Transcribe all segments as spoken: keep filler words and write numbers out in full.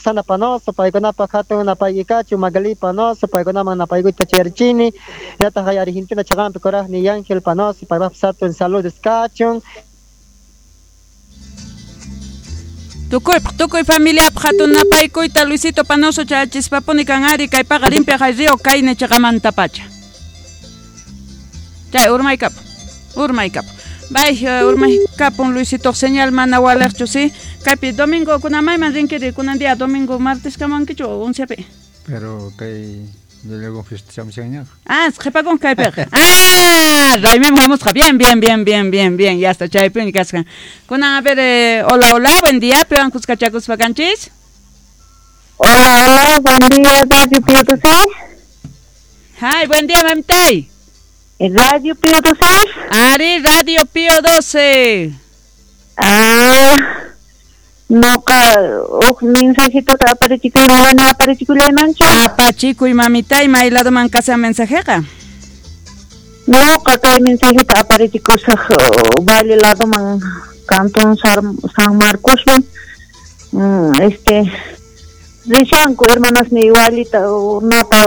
Roxana Panoso, paykunapaq hatun napayki kachun, Magali Panoso, paykunaman napaykuyta chayarichini, hinallataq kay Argentina chaqanpi kuraqni Ángel Panoso, paypaqpis hatun saludos kachun. Tukuypaq, tukuy familiapaq hatun napaykuyta Luisito Panoso chayachispapuni kan ari kay paqarinpi hay río kayna chaqamantapacha. Chay urmaykapun, urmaykapun. Bay, urmaykapun Luisito señal mana waliqchu, sí. Kaypi domingo kunamayman rinkiri kunan día domingo martes kamankichu oncepi. Pero kay luego fiesta chamushaña. Ah, qhipakun kaypiqa. Ah, raymim hamusqa. Bien, bien, bien, bien, bien, bien. Ya está, chaypini kasqa. Kunan a ver, eh, hola, hola, buen día, piwan kuskachakuspa kanchis. Hola, hola, buen día, Radio Pío doce. Hi, buen día, mamitay. Radio Pío doce. Ari, Radio Pío doce. Ah, noqa uj mensajitota aparichikuy mana aparichikuymanchu. Apachikuy mamitay, may ladoman kashan mensajeqa. Noqa kay mensajita aparichikusaq Valle ladoman Cantón San Marcosman. Mm, este rishanku hermanasniy walita nata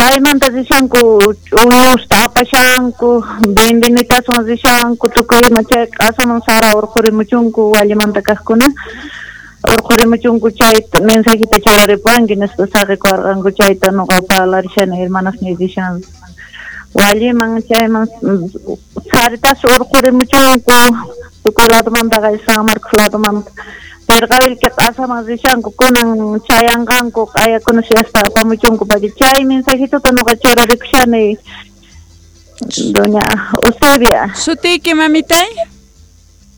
kaymanta rishanku ch'uñusta apashanku vendinitaswan rishanku tukuy ima chay q'asaman sara urqurimuchunku wallimanta kaqkuna urqurimuchunku chayta mensajita churaripuwanki nispa saqikuwarqanku chayta nuqa parlarishani hermanasniy rishan walliman chayman saritas urqurimuchunku tukuy ladomantaqa San Marcos ladomanta Perqavilki q'asaman rishanku kunan chayanqanku q'ayakuna siyaspa apamuchunku pacha chay mensajitota nuqa churarikushani doña Eusebia. Sutiyki mamitay?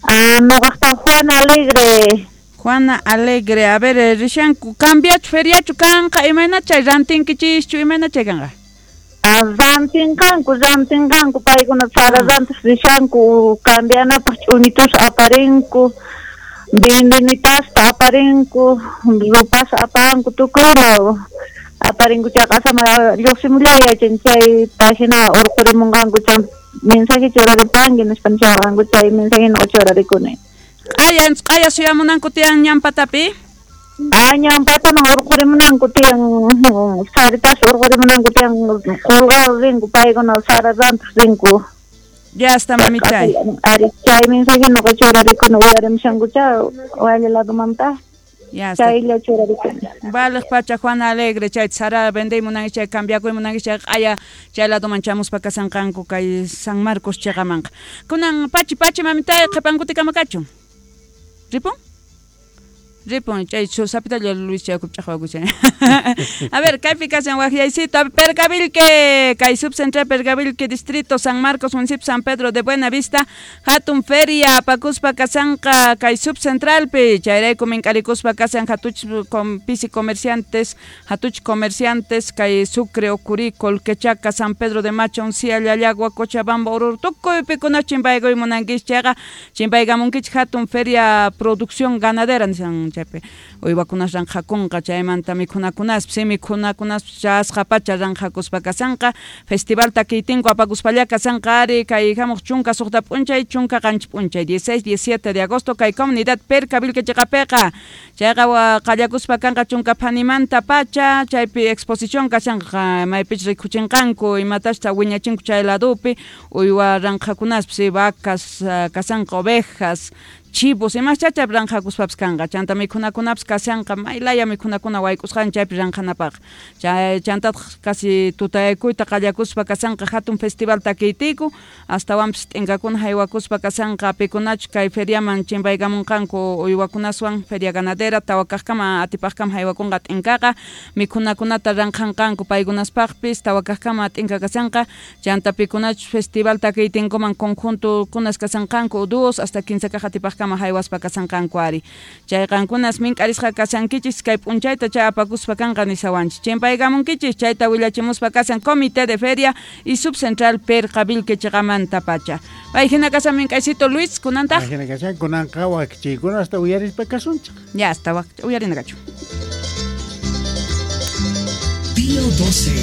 Ah, nuqaqta Juana Alegre. Juana Alegre, a ver, rishanku cambiachu feriachu kanqa imayna chay rantinkichischu imayna chay kanqa? Ah, rantinqanku rantinqanku paykuna sara rantis rishanku cambianapaq ch'uñitus aparinku vendinitasta aparinku rupas apanku tukuyma aparinku chay q'asama lluqsimullay yachan chay página urqurimunqanku chay mensaje churaripanki nispa nisharqanku chay mensaje nuqa churarikuni. Q'aya q'aya suyamunanku tiyan ñampatapi? Ah, ñampataman urqurimunanku tiyan saritas urqurimunanku tiyan qulqaw rinku paykuna sara rantiq rinku. Ya está, mamitay. Ari, chay mensaje nuqa churarikuni uyarimushankucha Valle ladomanta. Ya está. Chaylla churarikuni. Vale, pacha Juana Alegre, chay sara vendey munanki chay cambiakuy munanki chay q'aya chay ladoman chamuspa kasanqanku kay San Marcos chaqamanqa. Kunan pachi pachi mamitay qhipankutikama kachun. Ripun? Ripun, chay sapitalla Luis chay ch'aqwakushan. A ver, kaypi kashan waqyaysito, Pergavilque, kay subcentral Pergavilque, distrito San Marcos, municipio San Pedro de Buenavista, hatun feria apakuspa kasanqa kay subcentralpi, chayrayku mink'arikuspa kasan hatuch con pisi comerciantes, hatuch comerciantes, kay Sucre, Ocurí, Colquechaca, San Pedro de Macha, Uncía, Llallagua, Cochabamba, Oruro, tukuypikuna chimpaykuy munankichik chayqa, chimpaykamunkichik hatun feria producción ganadera nisan chaypi uywakunas ranqhakunqa chaymanta mikhunakunaspi si mikhunakunaspi chasqa pacha ranqhakuspa kasanqa festival takiytinku apakuspalla kasanqa ari kay hamuq chunka suqta p'unchay chunka qanchis p'unchay dieciséis diecisiete de agosto kay comunidad Percavilque chiqapiqa chayqa qallakuspa kanqa chunka phanimanta pacha chaypi exposición kashanqa maypich rikuchinqanku imatachta wiñachinku chay ladupi uywa ranqhakunaspi si vacas kasanqa ovejas chivos imas chachaypi ranqhakuspapis kanqa chanta mikhunakunapis kashanqa maylaya mikhunakuna wayk'usqan chaypi ranqhanapaq chay chantataq casi tutayaykuyta qallakuspa kashanqa hatun festival takiytiku astawanpis t'inkakuna haywakuspa kashanqa pikunachu kay feriaman chimpaykamunqanku uywakunaswan feria ganadera tawa kaqkama atipaqkama haywakunqa t'inkaqa mikhunakunata ranqhanqanku paykunaspaqpis tawa kaqkama t'inka kashanqa chanta pikunachu festival takiytinkuman conjuntukunas kashanqanku dos hasta quince kaq atipaqkama haywaspa kasanqanku ari chay qankunas mink'arisqa kasankichis kay p'unchayta chay apakuspa kanqa nisawanchis chimpaykamunkichis chayta willachimuspa kasan comité de feria y subcentral Perqavilque chiqamanta pacha pay hina kasan mink'aysito Luis kunantaq hina kasan kunanqa waqchiykuna hasta uyarispa kasunchik ya hasta uyarina kachu Pío doce.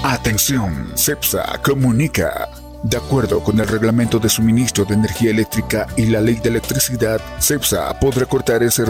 Atención, CEPSA comunica. De acuerdo con el reglamento de suministro de energía eléctrica y la ley de electricidad, CEPSA podrá cortar el servicio